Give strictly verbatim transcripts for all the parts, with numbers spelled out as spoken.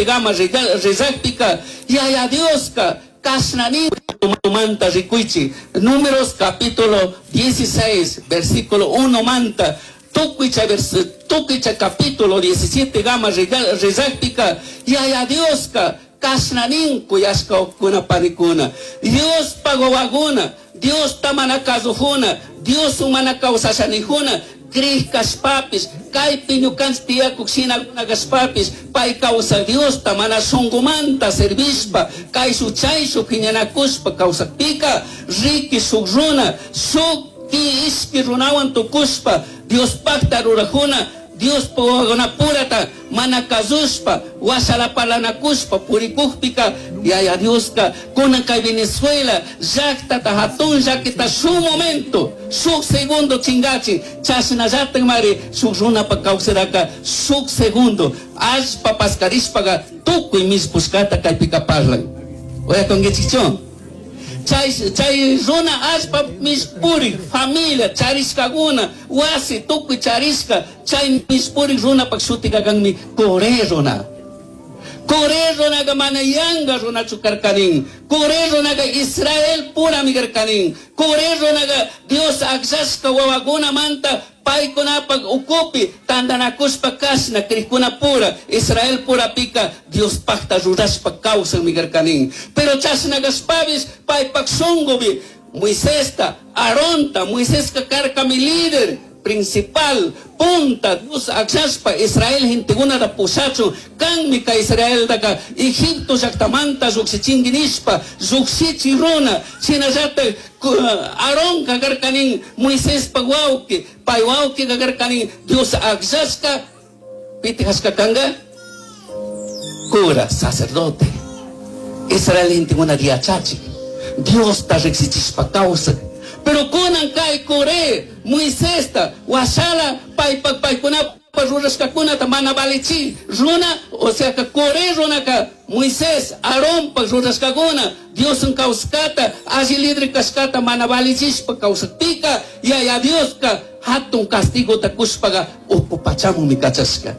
diecisiete gama rizakpika Yaya Dioska kashnani manta rikuichi. Números capítulo dieciséis versículo uno manta tukuy chay capítulo diecisiete gama rizakpika Yaya Dioska kashnanin kuyashka panikuna Dios pagowaguna Dios tamana kazujuna Dios mana kawsashanijuna Krij kashpapis kaypi ñukanchik tiyakuk shinakuna kashpapis pay kawsak Diosta mana shunkumanta servishpa kayshuk chayshuk phiñanakushpa kawsakpika riki shuk runa shuk ki ishki runawan tukushpa Diospakta rurajuna Dios purata mana kazushpa washalapalanakushpa purikukpika Yaya Dioska kunan kay Venezuela llaqtata hatun llakita shuk momento shuk segundo chingachin chashnallatak mari shuk runapa kawsaraka shuk segundo allpa paskarishpaqa tukuy mishpushkata kaypika parlan uyakunkichikchu. Chay chay runa allpa mishpurik familia charishkakuna wasi tukuy charishka chay mishpurik runapak shutika kanmi Coré runa. Coré runaqa mana yanka runachu karkanin. Coré runaqa Israel purami karkanin. Coré runaqa Dios akllashka wawakunamanta paykunapak ukupi tantanakushpa kashna krikuna pura Israel purapika Diospakta rurashpa kawsanmi karkanin. Pero chashna kashpapish paypak shunkupi Moisesta, Aaronta, Moiseska karkami líder principal, punta, Dios akllashpa Israel gentekunata pushachun kanmi ka Israeltaka Egipto llaqtamanta lluqshichinki nishpa lluqshichi runa shinallatak Aaronka karkanin Moisespa wawqi pay wawqika karkanin Dios akllashka piti hashka kanka cura, sacerdote Israel gentekuna yachachik Diosta riqsichishpa kawsak. Pero kunan kay Coré, Moisesta, washala paypak paykunapa rurashkakunata mana valichi runa, o sea que Coré runaka Moisés, Aaronpa rurashkakuna Diosun kawsakata, alli libre kashkata mana valichishpa kawsakpika Yaya Dioska hatun castigota kushpaqa uku pachamunmi kachashka.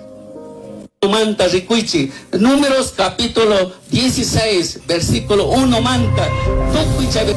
Manta rikuichi, Números capítulo dieciséis, versículo uno manta, tukuy chay